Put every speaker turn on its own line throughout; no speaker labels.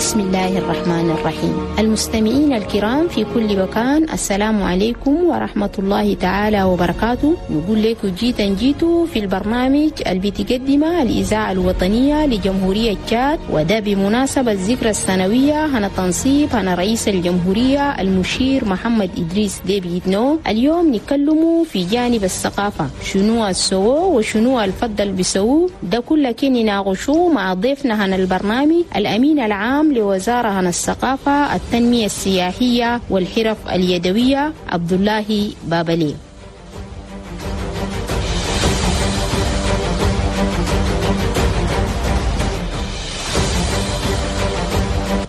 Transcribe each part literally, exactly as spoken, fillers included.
بسم الله الرحمن الرحيم. المستمعين الكرام في كل مكان، السلام عليكم ورحمة الله تعالى وبركاته. نقول لكم جيتا جيتو في البرنامج اللي بتقدمه الإذاعة الوطنية لجمهورية تشاد، وده بمناسبة الذكرى السنوية هنا تنصيب هنا رئيس الجمهورية المشير محمد إدريس ديبي إتنو. اليوم نتكلموا في جانب الثقافة، شنو السوو وشنو الفضل بسوو، ده كله كي نناقشوه مع ضيفنا هنا البرنامج الأمين العام لوزارة عن الثقافة التنمية السياحية والحرف اليدوية عبد الله بابلي.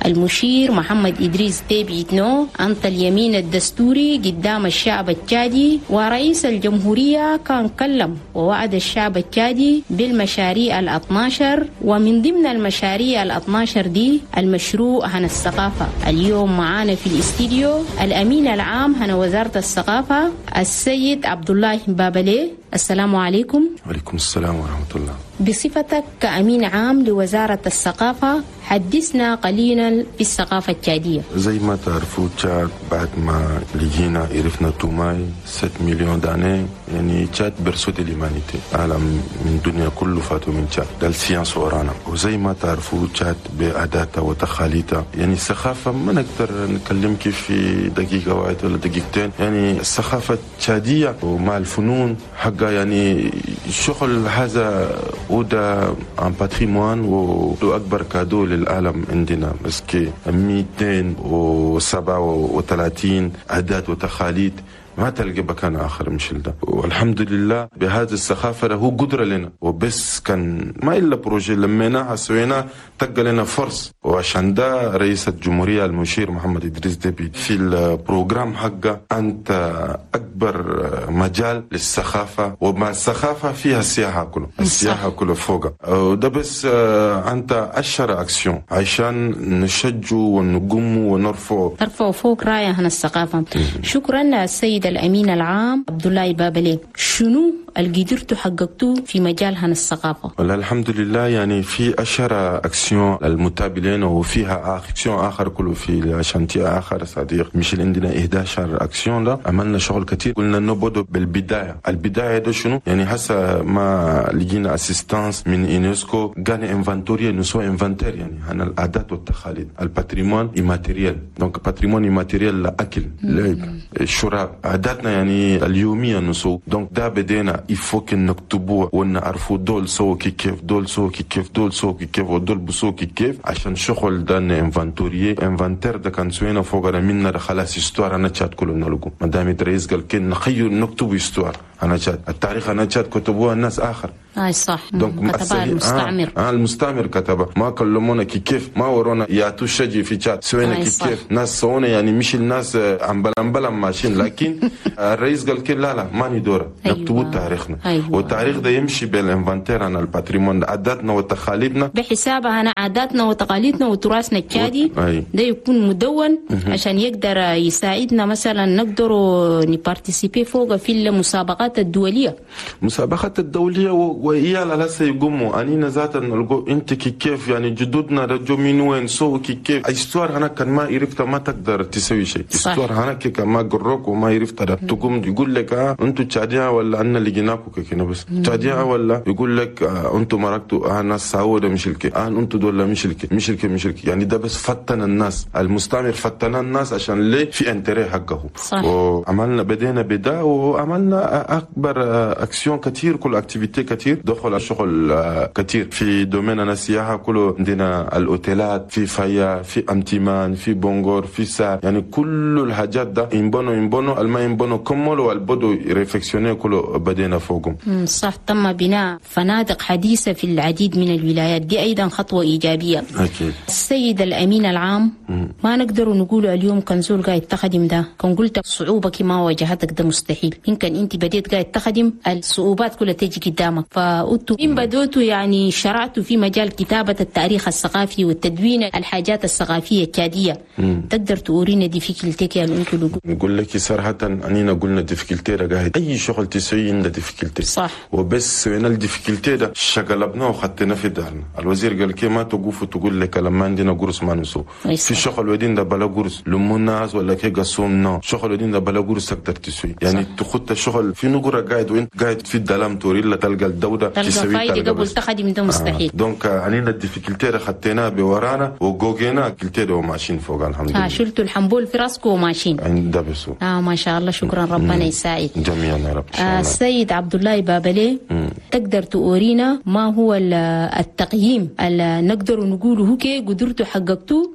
المشير محمد إدريس ديبي إتنو أنت اليمين الدستوري قدام الشعب التشادي، ورئيس الجمهورية كان كلم ووعد الشعب التشادي بالمشاريع الاثناشر، ومن ضمن المشاريع الاثناشر دي المشروع عن الثقافة. اليوم معانا في الاستديو الأمين العام عن وزارة الثقافة السيد عبد الله بابلي. السلام عليكم.
وعليكم السلام ورحمة الله.
بصفتك كأمين عام لوزارة الثقافة، حدثنا قليلا في الثقافة التشادية.
زي ما تعرفوا تشاد بعد ما لقينا عرفنا توماي ستة مليون d'années، يعني تشاد berceau de l'humanité، عالم من الدنيا كله فاتوا من تشاد، ده ال science ورانا. وزي ما تعرفوا تشاد بعاداتها وتقاليدها، يعني الثقافة ما نقدر نكلمك في دقيقة واحدة ولا دقيقتين، يعني الثقافة التشادية ومع الفنون حقها، يعني شغل هذا وده un patrimoine واكبر cadeau للعالم عندنا، parce que مئتين وسبعة وثلاثين عادات وتقاليد ما تلقى مكان اخر مش ده. والحمد لله بهذه الثقافة هو قدره لنا، وبس كان ما الا projet لميناها سويناه تلقى لنا فرص. وعشان ده رئيس الجمهورية المشير محمد ادريس ديبي في ال programme حقه انت اكبر مجال للثقافة، ومع الثقافة فيها السياحة كله، السياحة كله فوق. وده بس انت عشرة اكسيون عشان نشجع ونقوم ونرفع
ترفعوا فوق رايه عن الثقافة. شكرا السيد الأمين العام عبد الله بابلي. شنو اللي قدرتوا حققتوه في مجال هن الثقافة؟
والله الحمد لله، يعني في عشرة أكسيون المتابعين، وفيها أكسيون آخر كله في chantier آخر صديق مش عندنا إحدى عشر أكسيون. لا عملنا شغل كثير. قلنا نبدأ بالبداية، البداية ده شنو؟ يعني هسه ما لقينا assistance من يونسكو قال inventorier نسوي inventaire، يعني عن العادات والتقاليد، ال patrimoine immatériel. donc patrimoine immatériel الاكل، لعب، الشراب، عاداتنا يعني اليومية نسو. donc ده بدينا il faut que نكتبوه ونعرفوا دول سو كي كيف، دول سو كي كيف، دول سو كي كيف، ودول بسو كي كيف، عشان شغل ده inventorier inventaire ده كان سوينا فوق منا خلاص histoire انا تشاد كله نلقو. ما دام الرئيس قال كي نخير نكتب histoire انا تشاد، التاريخ انا تشاد كتبوها الناس اخر.
اي صح، كتبها المستعمر.
آه, آه المستعمر كتبها، ما كلمونا كي كيف، ما ورونا يا تشجي في تشاد سوينا كي كيف، ناس سوونا يعني مش الناس عم بلم بلم ماشيين، لكن الرئيس قال كي لا لا ما ندوره، نكتبوا تاريخنا. أيوة. والتاريخ ده يمشي بال inventaire عن ال patrimoine عاداتنا وتقاليدنا،
بحسابها انا عاداتنا وتقاليدنا وتراثنا التشادي. أي. ده يكون مدون عشان يقدر يساعدنا مثلا نقدر ن participer فوق في المسابقات الدولية.
المسابقات الدولية وإيالا لسه يقوموا أنينا ذاتا نلقوا أنت كي كيف، يعني جدودنا رجوا من وين سو كي كيف. histoire هنا كان ما عرفت ما تقدر تسوي شيء. histoire هنا كي ما قروك وما عرفت تقوم يقول لك آه أنتوا تشادية ولا أنا لقيناكم كنا بس تشادية، ولا يقول لك آه أنتوا مرقتوا آه ناس سعودة مش الك آه أنتوا دول مش الك مش الك مش الك. يعني ده بس فتن الناس، المستعمر فتن الناس عشان ليه في intérêt حقه. وعملنا بدينا بدا وعملنا أكبر أكسيون كثير، كل activité كثير، دخل الشغل كثير في domaine أنا السياحة كله. عندنا الأوتيلات في فيا، في أمتيمان، في بونغور، في سا، يعني كل الحاجات ده إنبونو إنبونو الما إنبونو كملوا والبدو réfectionner كله بدينا فوقهم.
صح، تم بناء فنادق حديثة في العديد من الولايات، دي أيضا خطوة إيجابية.
أكيد.
السيد الأمين العام، مم. ما نقدر نقول اليوم كان زول قاعد تخدم ده، كان قلت صعوبة ما واجهتك ده مستحيل، يمكن أنت بديت بديت قاعد تخدم الصعوبات كلها تيجي قدامك. فأنتوا من بدوتوا يعني شرعتوا في مجال كتابة التاريخ الثقافي والتدوين الحاجات الثقافية التشادية، تقدر تورينا difficulté يعني انتوا؟
نقول لك صراحة أنينا قلنا difficulté قاعد أي شغل تسوي عندنا difficulté،
صح،
وبس سوينا ال difficulté ده شقلبناه وخدتنا في دارنا. الوزير قال كي ما تقوف وتقول لك لما عندنا قرص ما نسو في شغل ودين ده بلا قرص لمو الناس ولا كي قصوم نو شغل ودين ده بلا قرص تقدر تسوي يعني تخط الشغل في نقرة قاعد وانت قاعد في الدلام توري لا تلقى الدودة
تسوي فايدة قبل تخدم ده مستحيل.
آه. donc علينا ال difficulté خدتنا بورانا وجوجينا كلتي وماشيين فوق الحمد لله.
آه شلتوا الحنبول في راسكم وماشيين
عند بسو.
اه ما شاء الله، شكرا ربنا يساعد
جميعا يا رب.
آه السيد عبد الله بابلي، تقدر تورينا ما هو التقييم اللي نقدر نقوله كي قدرتوا حققتوه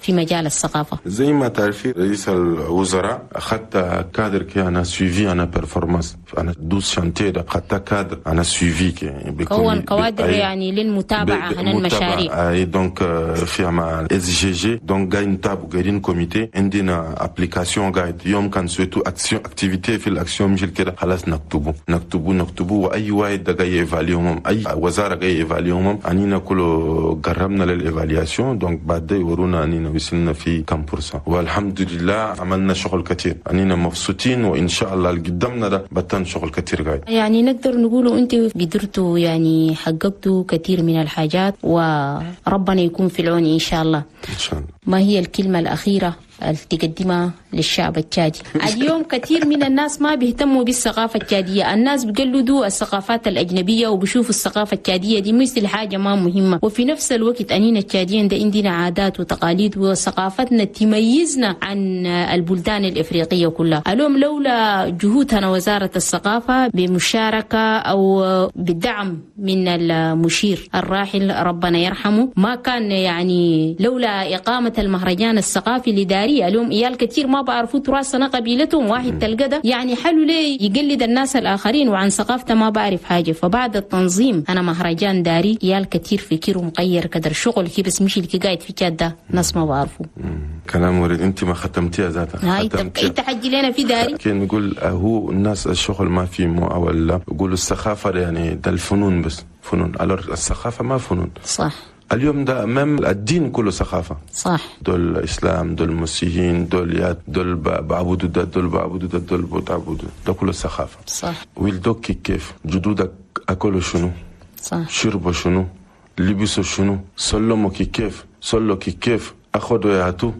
في مجال الثقافة؟
زي ما تعرفي رئيس الوزراء أخذت كادر كي أنا suivi أنا performance أنا douze chantiers ده أخذت كادر أنا suivi كي
كون كوادر يعني للمتابعة عن المشاريع.
أي donc فيها مع SGG donc قاعد نتابع قاعدين comité عندنا application قاعد يوم كان سويتو action activité في الاكسيون مش كده خلاص نكتبه نكتبه نكتبه واي واحد ده جاي évaluer اي وزارة جاي évaluer انينا كله قربنا لل évaluation donc بعد يورونا انينا وصلنا في كم pour cent والحمد لله عملنا شغل كثير انينا مبسوطين وان شاء الله اللي قدامنا ده بطن شغل كثير قاعد.
يعني نقدر نقوله انت قدرتوا يعني حققتوا كثير من الحاجات وربنا يكون في العون ان شاء الله.
ان شاء الله.
ما هي الكلمة الاخيرة اللي تقدمها للشعب التشادي؟ اليوم كثير من الناس ما بيهتموا بالثقافة التشادية، الناس بيقلدوا الثقافات الأجنبية وبيشوفوا الثقافة التشادية دي مثل حاجة ما مهمة، وفي نفس الوقت أنينا التشاديين ده عندنا عادات وتقاليد وثقافتنا تميزنا عن البلدان الإفريقية كلها. اليوم لولا جهودنا وزارة الثقافة بمشاركة أو بالدعم من المشير الراحل ربنا يرحمه ما كان يعني لولا إقامة المهرجان الثقافي لداري اليوم إيال كثير ما بعرفوا تراثنا قبيلتهم واحد تلقى ده يعني حلو ليه يقلد الناس الآخرين وعن ثقافته ما بعرف حاجة. فبعد التنظيم أنا مهرجان داري إيال كثير فكر ومغير كدر شغل كي بس مش اللي قاعد في جادة ناس ما بعرفوا.
كلام ورد أنت ما ختمتيها ذاتها.
أنت حجي لنا في داري.
كي نقول هو الناس الشغل ما في مو ولا يقولوا الثقافة يعني ده الفنون بس فنون، alors الثقافة ما فنون.
صح.
اليوم ده même الدين كله ثقافة.
صح.
دول الإسلام دول المسيحيين دول يا دول بعبدوا ده دول بعبدوا ده دول بعبدوا ده كله ثقافة.
صح.
ولدوك كيف جدودك أكلوا شنو؟
صح.
شربوا شنو؟ لبسوا شنو؟ سلموا كيف؟ صلوا كيف؟ أخذوا يعطوا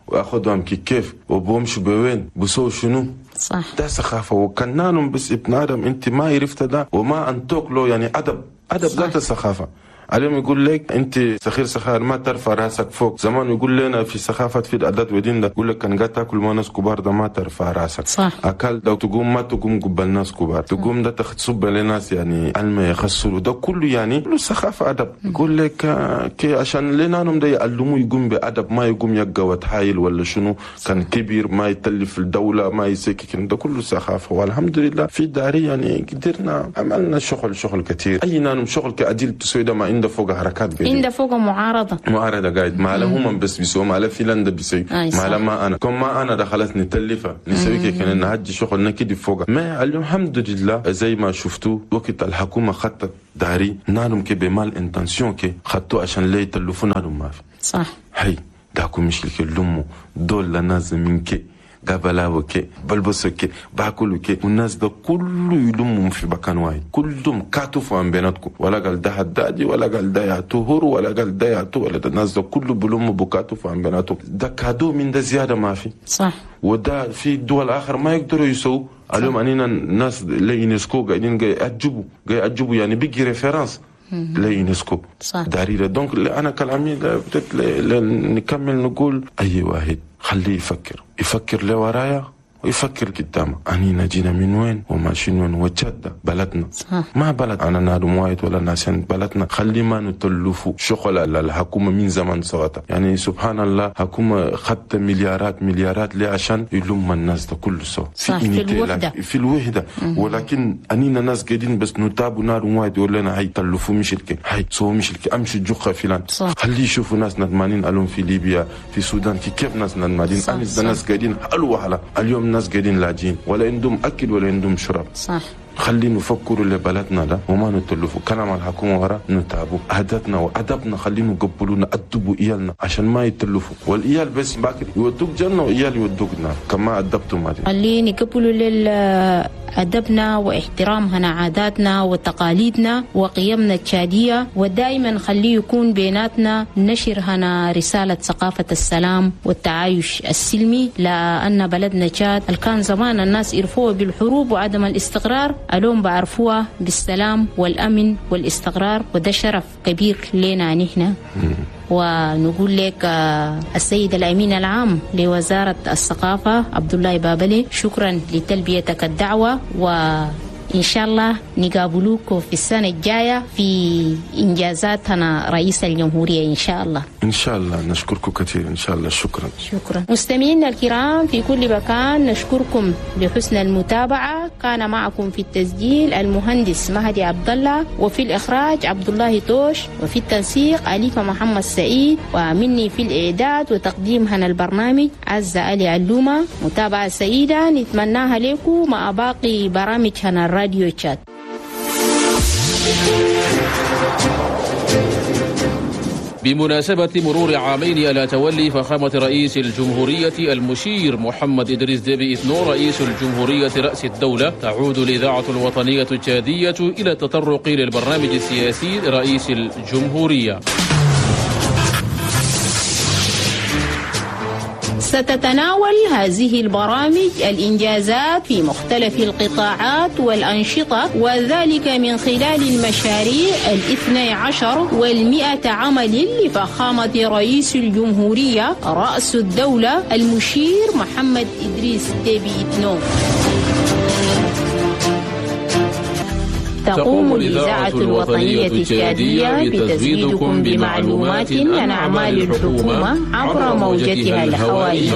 وأخذوا هم كيف؟ وبومشوا بوين؟ بسوا شنو؟
صح.
ده ثقافة وكنانهم بس ابن آدم أنت ما عرفت ده وما أنتوك له يعني أدب أدب ذات الثقافة. اليوم يقول لك انت سخير سخار ما ترفع راسك فوق، زمان يقول لنا في ثقافة في العادات ودين ده يقول لك كان قاعد تاكل مع ناس كبار ده ما ترفع راسك.
صح.
اكل ده تقوم ما تقوم قبل ناس كبار، تقوم ده تصب لناس يعني علم يخسروا ده كله يعني كله ثقافة ادب. يقول لك كي عشان لنا ده يعلموا يقوم بادب ما يقوم يقوى وتحايل ولا شنو كان كبير ما يتلف الدولة ما يسكك ده كله ثقافة. والحمد لله في داري يعني قدرنا عملنا شغل شغل كثير اي نانم شغل كأديل تسوي ده ما عنده فوق حركات بيجي
عنده فوق معارضة
معارضة قاعد ما لهم بس بيسوي ما له فلان بيسوي ما له ما انا كم ما انا دخلت نتلفه نسوي كي كان نهج شغل نكدي فوق ما اليوم الحمد لله زي ما شفتوا وقت الحكومة خطت داري نانم كي ب mal intention كي خطوا عشان ليه يتلفوا نانم ما في.
صح.
هي داكو مش لك اللمو دول لناس من كي قبلاوه كي بلبسوا كي باكلوا كي والناس ده كله يلمهم في مكان واحد كلهم كاتفوا عن بيناتكم ولا قال ده حدادي ولا قال ده يعتهر ولا قال ده يعتو ولا ده الناس ده كله بلموا بكاتفوا عن بيناتهم ده cadeau من ده زيادة ما في.
صح.
وده في دول اخر ما يقدروا يسووا. اليوم انينا الناس ليونسكو قاعدين قاعد يعجبوا قاعد يعجبوا يعني بيجي référence ليونسكو داريرة. donc انا كلامي بديت نكمل نقول اي واحد خليه يفكر يفكر لورايا ويفكر قدامه أنينا جينا من وين وماشيين وين وتشاد بلدنا.
صح.
ما بلد أنا نادم وايد ولا ناسين بلدنا خلي ما نتلفوا شغل الحكومة من زمان سواتا يعني سبحان الله حكومة خدت مليارات مليارات ليه عشان يلم الناس ده كله سوا
في, في الوحدة
في الوحدة. ولكن أنينا ناس قاعدين بس نتابوا نادم وايد يقول لنا هاي تلفوا مش الك هاي سو مش الك أمشي جوخة فلان. خلي يشوفوا ناس ندمانين ألوم في ليبيا في السودان كيف ناس ندمانين أنيس ناس قاعدين حلو وحلا اليوم الناس قاعدين لاجين ولا عندهم اكل ولا عندهم شرب.
صح.
خلينا نفكروا لبلدنا ده وما نتلفوا كلام الحكومة ورا نتابوا عاداتنا وأدبنا، خلينا نقبلوا نأدبوا إيالنا عشان ما يتلفوا، والإيال بس باكر يودوك جنة وإيال يودوك نار كما أدبتوا ما دي.
خلينا نقبلوا لأدبنا واحترامنا عاداتنا وتقاليدنا وقيمنا التشادية، ودائما خليه يكون بيناتنا نشر هنا رسالة ثقافة السلام والتعايش السلمي، لأن بلدنا تشاد كان زمان الناس يرفوه بالحروب وعدم الاستقرار، اليوم بعرفوها بالسلام والأمن والاستقرار، وده شرف كبير لنا نحن. ونقول لك السيد الأمين العام لوزارة الثقافة عبد الله بابلي، شكرا لتلبيتك الدعوة، وإن شاء الله نقابلوك في السنة الجاية في إنجازاتنا رئيس الجمهورية إن شاء الله.
إن شاء الله، نشكركم كثير إن شاء الله. شكرا.
شكرا. مستمعينا الكرام في كل مكان، نشكركم لحسن المتابعة. كان معكم في التسجيل المهندس مهدي عبد الله، وفي الإخراج عبد الله توش، وفي التنسيق أليفة محمد سعيد، ومني في الإعداد وتقديم هنا البرنامج عزة علي علومة. متابعة سعيدة نتمناها لكم مع باقي برامج هنا الراديو تشاد.
بمناسبة مرور عامين على تولي فخامة رئيس الجمهورية المشير محمد إدريس ديبي إتنو رئيس الجمهورية رأس الدولة، تعود الإذاعة الوطنية التشادية إلى التطرق للبرنامج السياسي لرئيس الجمهورية.
ستتناول هذه البرامج الإنجازات في مختلف القطاعات والأنشطة، وذلك من خلال المشاريع الاثني عشر والمئة عمل لفخامة رئيس الجمهورية رأس الدولة المشير محمد إدريس ديبي إتنو. تقوم الإذاعة الوطنية التشادية بتزويدكم بمعلومات عن أعمال الحكومة عبر موجتها الهوائية.